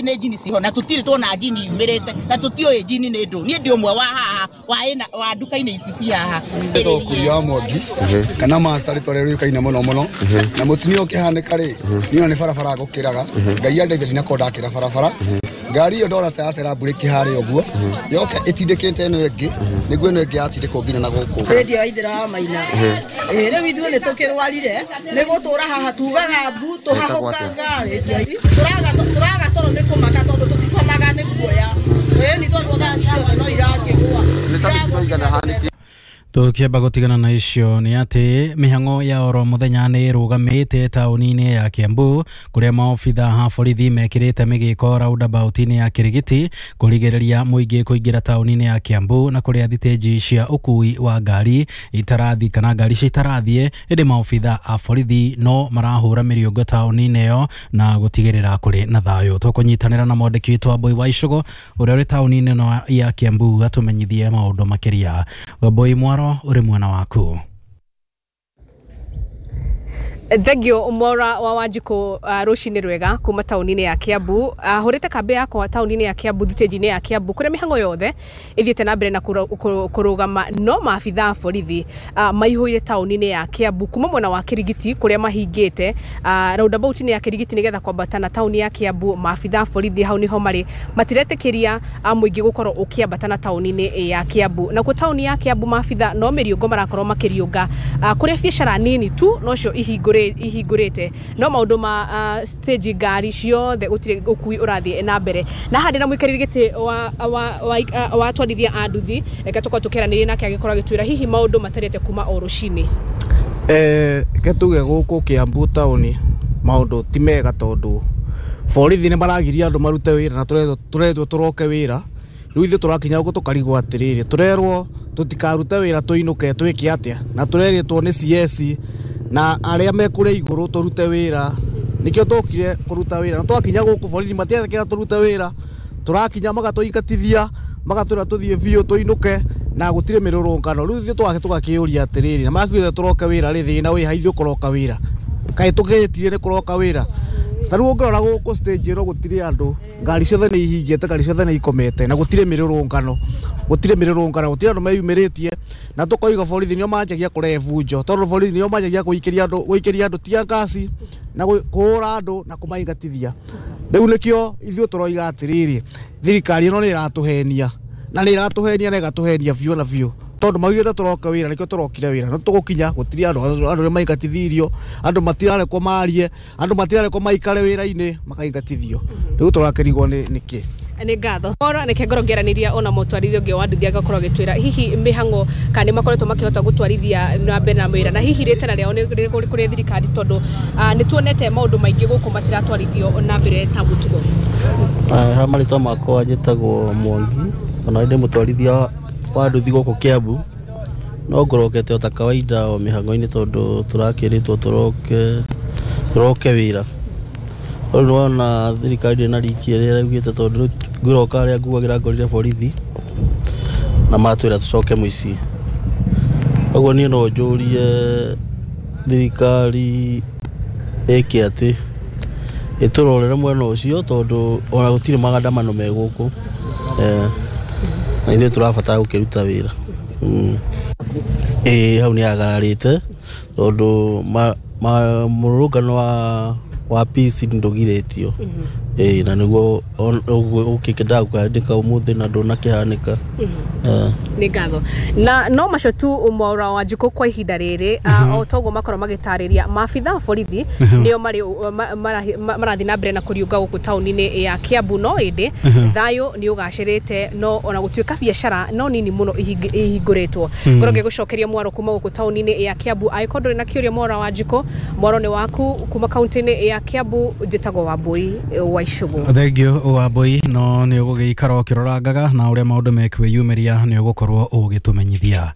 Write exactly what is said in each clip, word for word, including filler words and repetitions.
Nĩ njini ciho na tũtirĩ tuona njini yumĩrĩte na tũtiũĩ njini nĩ ndũ. Niĩ ndĩ ũmwe wa haha wa ĩna wa nduka-inĩ ici ci haha. Ndĩtagwo Kuria wa Mwangi kana master rĩtwa rĩrĩa rĩũkaine mũno mũno na mũtumia ũkĩhanĩka rĩ niĩ ona nĩ barabara ngũkĩraga Ngai andeithia ndinakorwo ndakĩra barabara ngari ĩyo ndona ta yatera mburĩki harĩa ũguo yoka ĩtindĩkĩte ĩno ĩngĩ nĩguo ĩno ĩngĩ yatindĩkwo nginya na gũkũ. Rendio ya Ithĩra wa Maina ĩĩ rĩu ithuĩ nĩ tũkĩrwarire nĩ gũtũra haha tugaga mbu tũhahũkaga rendio tũraga tũraga toro nĩ kũmaka tondũ tũtikomaga nĩ guoya ĩĩ nĩ tondũ thaa ciothe no irakĩgũa. Tukiamba gutigana na icio ni ati mihango ya oro muthenya ni irugamite tauni-ini ya Kiambu kuria maobitha ha borithi mekirite migiko roundabout-ini ya Kirigiti kurigiriria muingi kuingira tauni-ini ya Kiambu na kuria thiteji cia ukui wa ngari itarathi kana ngari cia itarathie indi maobitha a borithi no marahura miriungo tauni-ini iyo na gutigirira kuri na thayu. Tukunyitanira na mwandiki witu Wambui wa Icugu uria uri tauni-ini ino ya Kiambu atumenyithie maundu makiria. Wambui mwaro uri mwena waku. Thengio Mwaura wa Wanjikũ uh, rũcinĩ rwega kuma taũni-inĩ ya Kiambu. uh, hũrĩte kambĩ yakwa taũni-inĩ ya Kiambu thitĩnji-inĩ ya Kiambu kũrĩa mĩhang'o yothe ĩthiĩte na mbere na kũrũgama no maabitha a borithi uh, maihũire taũni-inĩ ya Kiambu kuma mwena wa Kirigiti kũrĩa mahingĩte uh, roundabout-inĩ ya Kirigiti nĩgetha kwambata na taũni ya Kiambu. Maabitha a borithi hau niho marĩ matiretĩkĩria uh, mũingĩ gũkorwo ũkĩambata na taũni-inĩ ya Kiambu. Nakuo taũni ya Kiambu maabitha no mĩriũngo marakorwo makĩriũnga uh, kũrĩa biacara nini tu nocio ihingũrĩte ihingurite no maundu ma uh, stage ngari ciothe gutire ukui urathie na mbere na handi na muikariri giti wa wa wa, wa twarithia a nduthi reke tukorwo tukiaranirie nake agikorwo agitwira hihi maundu matarite kuma o rucini. Eh ke tuge guku Kiambu tauni maundu ti mega tondu borithi ni maragiria andu marute wira na turetwo turoke wira riu ithuĩ tũrakinya gũkũ tũkarigwo atĩrĩrĩ tũrerwo tũtikarute wĩra tũinũke twĩke atĩa na tũrerĩtwo nĩ C S na arĩa me kũrĩa igũrũ tũrute wĩra nĩkĩo tũkire kũruta wĩra na twakinya gũkũ borithi matiretĩkĩra tũrute wĩra tũrakinya magatũingatithia magatwĩra tũthiĩ biũ tũinũke na gũtirĩ mĩrũrũngano rĩu ithuĩ twake tũgakĩũria atĩrĩrĩ na makiugĩte tũroke wĩra rĩ thĩna wĩ ha ithuĩ kũroka wĩra kaĩ tũgĩtire nĩ kũroka wĩra ta rĩu ũngĩrora gũkũ stage ĩno gũtirĩ andũ ngari ciothe nĩ ihingĩte ngari ciothe nĩ ikomete na gũtirĩ mĩrũrũngano gũtirĩ mĩrũrũngano gũtirĩ andũ meyumĩrĩtie na tũkoiga borithi nĩo manjagia kũrehe bunjo tondũ borithi nĩo manjagia gũikĩria andũ gũikĩria andũ tear gas na kũhũra andũ na kũmaingatithia rĩu nĩkĩo ithuĩ tũroiga atĩrĩrĩ thirikari ĩno nĩ ĩratũhenia na nĩ ĩratũhenia na ĩgatũhenia biũ na biũ tondu maugĩte tũroka wĩra nĩkĩo tũrokire wĩra no tũgũkinya gũtirĩ andũ andũ nĩ maingatithirio andũ matirarekwo marie andũ matirarekwo maikare wĩra-inĩ makaingatithio rĩu tũrakĩrigwo nĩ nĩkĩ. Nĩ ngatho ora nĩke ngorwo ngĩaranĩria ona mũtwarithia ũngĩ wa nduthi agakorwo agĩtwĩra hihi mĩhang'o kana nĩ makoretwo makĩhota gũtwarithia na mbere na wĩra na hihi rĩtana rĩao nĩ kũrĩ thirikari tondũ nĩ tuonete maũndũ maingĩ gũkũ matiratwarithio na mbere ta mũtugo. Ha marĩtwa makwa njĩtagwo Mwangi ona ndĩ mũtwarithia wa nduthi gũkũ Kiambu no ngorokete o ta kawaida o mĩhang'o-inĩ tondũ tũrakĩrĩtwo tũroke tũroke wĩra rĩu nĩwona thirikari ndĩna riki ĩrĩa ĩraugĩte tondũ rĩu ngĩroka harĩa nguagĩra ngorire borithi na matwĩra tũcoke mũciĩ ũguo niĩ no njũrie thirikari ĩke atĩ ĩtũrorere mwena ũcio tondũ ona gũtirĩ magandamano me gũkũ eh na ithuĩ tũrabatara gũkĩruta wĩra. Ĩĩ hau nĩ agararĩte tondũ mũrũrũngano wa wa peace ndũgirĩtio ĩĩ na nĩguo ũkĩendaga gũkĩandĩka ũmũthĩ na ndũnakĩhanĩka. Nĩ ngatho na no macio tu Mwaura wa Wanjikũ kwa ihinda rĩrĩ o toguo makorwo magĩtarĩria maabitha a borithi nĩo marĩ marathiĩ na mbere na kũriũnga gũkũ taũni-inĩ ya Kiambu no ĩndĩ thayũ nĩ ũgacĩrĩte no ona gũtuĩka biacara no nini mũno ihingũrĩtwo. Ngorwo ngĩgũcokeria mwaro kuma gũkũ taũni-inĩ ya Kiambu angĩkorwo ndũrĩ na kĩũria Mwaura wa Wanjikũ mwaro nĩ waku kuma kaũntĩ-inĩ ya Kiambu njĩtagwo Wambui wa Icugu. Thengio Wambui no nĩ ũgũgĩikara ũkĩrorangaga na ũrĩa maũndũ mekwĩyumĩria nĩ ũgũkorwo ũgĩtũmenyithia.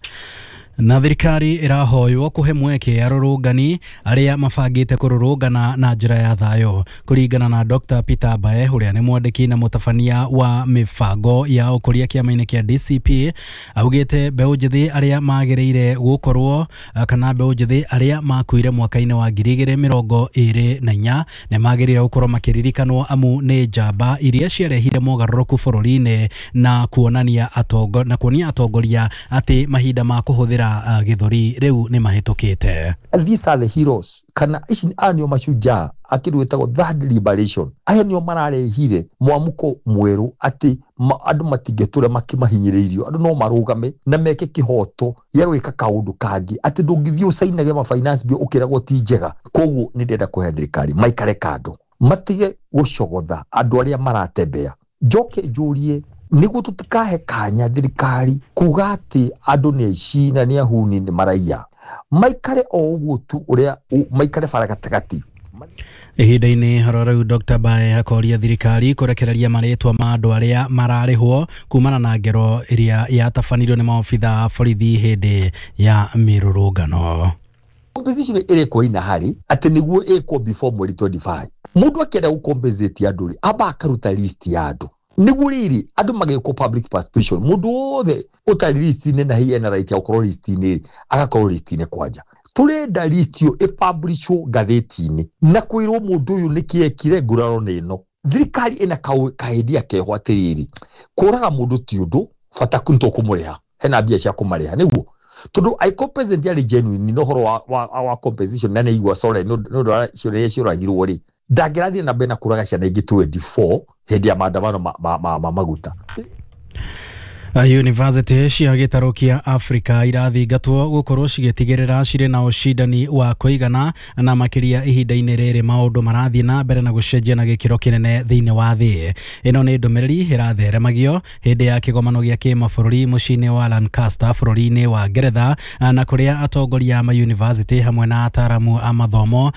Na thirikari ĩrahoywo kũhe mweke arũrũngani arĩa mabangĩte kũrũrũngana na njĩra ya thayũ. Kũringana na Doctor Peter Mbae, ũrĩa nĩ mwandĩki na mũtabania wa mĩbango ya ũkũria kĩama-inĩ kĩa D C P, augĩte mbeũ njĩthĩ arĩa magĩrĩire gũkorwo kana mbeũ njĩthĩ arĩa makuire mwaka-inĩ wa ngiri igĩrĩ mĩrongo ĩrĩ na inya nĩ magĩrĩire gũkorwo makĩririkanwo amu nĩ njamba iria ciarehire mogarũrũku bũrũri-inĩ na kuonania atongo na kuonia atongoria atĩ mahinda ma kũhũthĩra uh, gĩthũri rĩu nĩ mahĩtũkĩte. These are the heroes kana ici aya nĩo mashujaa akĩndũ gĩtagwo third liberation. Aya nĩo mararehire mwamuko mwerũ atĩ andũ matingĩtũra makĩmahinyĩrĩirio, andũ no marũgame na meke kĩhoto gĩa gwĩka kaũndũ kangĩ, atĩ ndũngĩthiĩ ũcainage ma finance bill ũkĩragwo ti njega. Koguo nĩ ndĩrenda kũhe thirikari maikare kando, matige gũcogotha andũ arĩa maratembea. Njoke njũrie nĩguo tũtikahe kanya thirikari kuga atĩ andũ nĩ aici na nĩ ahuni nĩ maraiya, maikare o ũguo tu ũrĩa maikare bara gatagatĩ. Ihinda-inĩ horo rĩu Doctor Mbae akoria thirikari kũrekereria marĩtwa ma andũ arĩa mararĩhwo kumana na ngero ĩrĩa yatabanirio nĩ maobitha a borithi hĩndĩ ya mĩrũrũngano. Compensation ĩrekwo ina harĩ atĩ nĩguo ĩkwo before mweri twenty-five. Mũndũ akĩenda gũcompensate andũ rĩ, amba akaruta list ya andũ nĩguo rĩrĩ andũ magĩkwo public participation. Mũndũ wothe ũtarĩ list-inĩ na hihi ena right ya gũkorwo list-inĩ agakorwo list-inĩ kwanja. Tũrenda list ĩyo ĩpublishwo ngathĩti-inĩ na kwĩrwo mũndũ ũyũ nĩkĩ ekire nguraro nĩ ĩno. Thirikari ĩna kahendia keho atĩrĩrĩ, kũraga mũndũ ti ũndũ, bata nĩ tũkũmũrĩha, hena mbia cia kũmarĩha nĩguo tondũ angĩkorwo president arĩ genuine na ũhoro wa, wa, wa compensation na nĩaigua sorry nĩ ũndũ wa ciũria iria ciũragirwo rĩ, ndangĩrathiĩ na mbere na kũraga ciana ingĩ twenty-four hĩndĩ ya maandamano ma, ma, ma, ma maguta. University cia gĩtarũ kĩa Africa irathingatwo gũkorwo cigĩtigĩrĩra cirĩ na ũcindani wa kũigana na makĩria ihinda-inĩ rĩrĩ maũndũ marathiĩ na mbere na gũcenjia na gĩkĩro kĩnene thĩinĩ wa thĩ. Ĩno nĩ ndũmĩrĩri ĩratheremagio hĩndĩ ya kĩgomano gĩa kĩmabũrũri mũciĩ-inĩ wa Lancaster bũrũri-inĩ wa Ngeretha, na kũrĩa atongoria a mayunivasĩtĩ hamwe na ataaramu a mathomo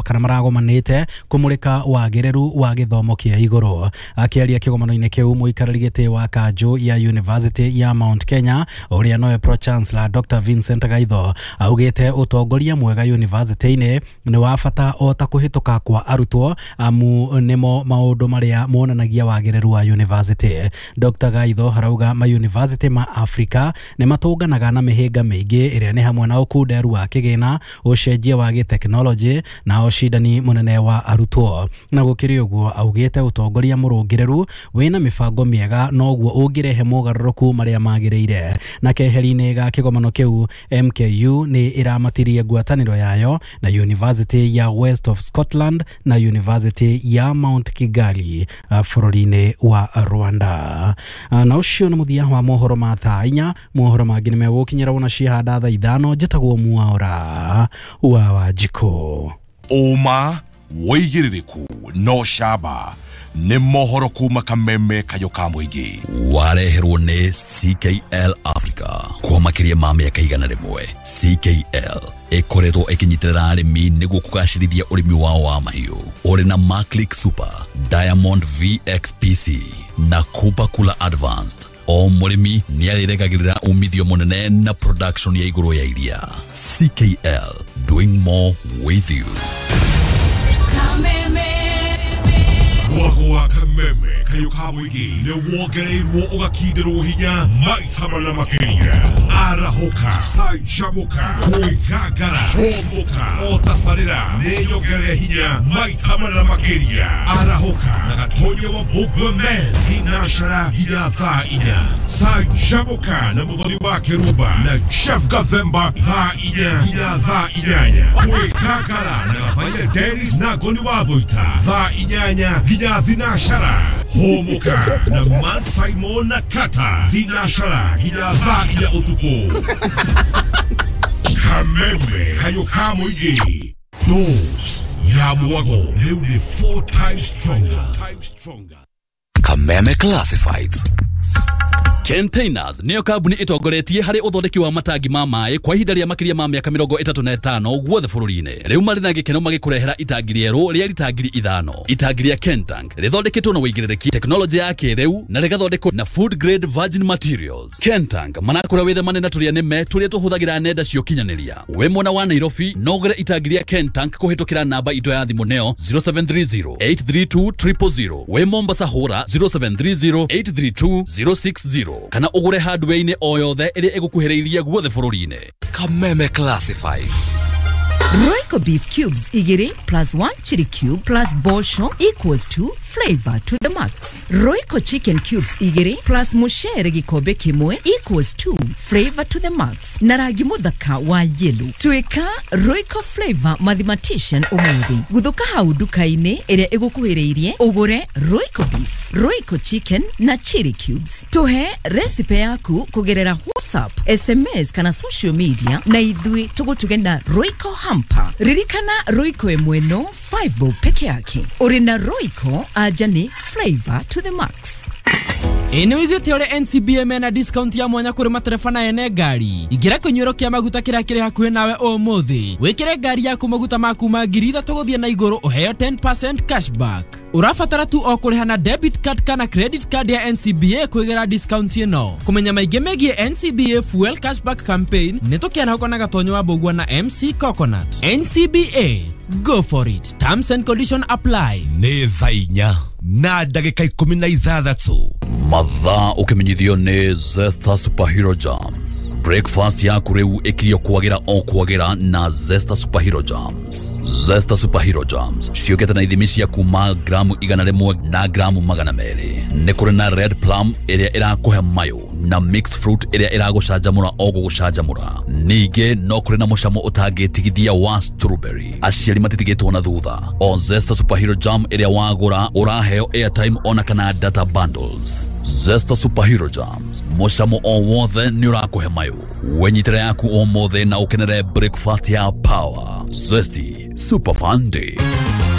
kana maragomanĩte kũmũrĩka wagĩrĩru wa gĩthomo kĩa igũrũ. Akĩaria kĩgomano-inĩ kĩu, mũikarĩri gĩtĩ wa kanjũ ya University ya Mount Kenya ũrĩa nowe Pro Chancellor Doctor Vincent Gaitho augĩte ũtongoria mwega university-inĩ nĩ wa bata o ta kũhĩtũka kwa arutwo amu nĩmo maũndũ marĩa monanagia wagĩrĩru wa university. Doctor Gaitho arauga ma university ma Africa nĩ matũnganaga na mĩhĩnga mĩingĩ ĩrĩa nĩ hamwe na ũkunderu wa kĩgĩna, ũcenjia wa gĩtekinoronjĩ na ũcindani mũnene wa arutwo. Na gũkĩrĩ ũguo augĩte ũtongoria mũrũngĩrĩru wĩna mĩbango mĩega noguo ũngĩrehe mogarũrũku marĩa magĩrĩire. Na keheri-inĩ ga kĩgomano kĩu, M K U nĩ ĩramatirie ngwatanĩro yayo na University ya West of Scotland na University ya Mount Kigali bũrũri-inĩ wa Rwanda. Na ũcio nĩ mũthia wa mohoro ma thaa inya. Mohoro mangĩ nĩ megũkinyĩra wona ciahanda thaa ithano. Njĩtagwo Mwaura wa Wanjikũ. Ũma wĩigĩrĩrĩku no camba nĩ mohoro kuma Kameme kayo ka mũingĩ wareherwo nĩ C K L Africa kwa makĩria ma mĩaka igana rĩmwe. C K L ĩkoretwo ĩkĩnyitĩrĩra arĩmi nĩguo kũgacĩrithia ũrĩmi wao wa mahiũ ũrĩ na Maclick Super, Diamond V X P C na Kupa Kula Advanced. O mũrĩmi nĩ arĩregagĩrĩra umithio mũnene na production ya igũrũ ya iria. C K L, doing more with you. Mwago wa Kameme kayo ka mũingĩ nĩ wongereirwo ũgakindirwo hinya maita mana makĩria. Arahũka, canjamũka, kwĩgangara, hũmũka, o tabarĩra nĩ nyongerere hinya maita mana makĩria. Arahũka na Gatonya wa Mbũgua Men thinacara nginya thaa inya. Canjamũka na Mũthoni wa Kĩrumba na Chef Gathemba thaa inya nginya thaa inyanya. Kwĩgangara na Gathaiya Dennis na Ngoni wa Thũita thaa inyanya nginya thinacara. Hũmũka na Man Simon na Kata thinacara nginya thaa inya ũtukũ. Kameme kayo ka mũingĩ. Dose ya mwago rĩu nĩ four times stronger. Kameme Classifieds. Containers nĩyo kambuni ĩtongoretie harĩ ũthondeki wa matangi ma maĩ kwa ihinda rĩa makĩria ma mĩaka mĩrongo ĩtatũ na ĩtano guothe bũrũri-inĩ. Rĩu marĩ na gĩkeno magĩkũrehera itangi rĩerũ rĩa rita ngiri ithano. Itangi rĩa Kentank rĩthondeketwo na wĩigĩrĩrĩki, tekinoronjĩ ya kĩrĩu na rĩgathondekwo na food grade virgin materials. Kentank marakũra wĩthemane na tũrĩa nĩme tũrĩa tũhũthagĩra nenda cia ũkinyanĩria. Wĩ mwena wa Nairobi no ũgũre itangi rĩa Kentank kũhĩtũkĩra namba itũ ya thimũ neo zero seven three zero eight three two triple zero. Wĩ Mombasa hũra zero seven three zero eight three two zero six zero kana ũgũre hardware-inĩ o yothe ĩrĩa ĩgũkuhĩrĩirie guothe bũrũri-inĩ. Kameme Classifieds. Royco beef cubes igiri plus one chili cube plus bosho equals to flavor to the max. Royco chicken cubes igiri plus mushere gikombe kimwe equals to flavor to the max. Na rangi muthaka wa yellow. Tuika Royco flavor mathematician umuthi. Guthuka hau nduka-inĩ ĩrĩa ĩgũkuhĩrĩirie ũgũre Royco beef, Royco chicken na chili cubes. Tuhe recipe yaku kugerera WhatsApp, S M S kana social media na ithuĩ tũgũtuge na Royco ham. Ririkana Royco ĩmwe no five bob peke yake. Uri na Royco aja ni flavor to the max. Ĩ nĩ wĩiguĩte ũrĩa N C B A mena discount ya mwanya kũrĩ matereba na ene ngari. Ingĩra kĩnyuĩro kĩa maguta kĩrĩa kĩrĩ hakuhĩ nawe ũmũthĩ. Wĩkĩre ngari yaku maguta ma kuma ngiri ithatũ gũthiĩ na igũrũ ũheo ten percent cashback. Ũrabatara tu o kũrĩha na debit card kana credit card ya N C B A kwĩgĩra discount ĩno. Kũmenya maingĩ megiĩ N C B A Fuel Cashback Campaign nĩ tũkĩarahũka na Gatonyo wa Mbũgua na M C Coconut. N C B A, go for it. Terms and condition apply. Nĩ thaa inya na ndagĩka ikũmi na ithathatũ. Mathaa ũkĩmenyithio nĩ Zesta Superhero Jams. Breakfast yaku rĩu ĩkirio kwagĩra o kwagĩra na Zesta Superhero Jams. Zesta Superhero Jams ciũkĩte na ithimi cia kuma gramu igana rĩmwe na gramu magana merĩ. Nĩ kũrĩ na red plum ĩrĩa ĩrakũhe mayũ na mixed fruit ĩrĩa ĩragũcanjamũra o gũgũcanjamũra. Ningĩ no kũrĩ na mũcamo ũtangĩtigithia wa strawberry. Aciari matitigĩtwo na thutha. O Zesta Superhero Jam ĩrĩa wagũra ũraheo airtime ona kana data bundles. Zesta Superhero Jams, mũcamo o wothe nĩ ũrakũhe mayũ. Wenyitĩre yaku ũmũthĩ na ũkenere breakfast ya power. Zesty Super Fun Day.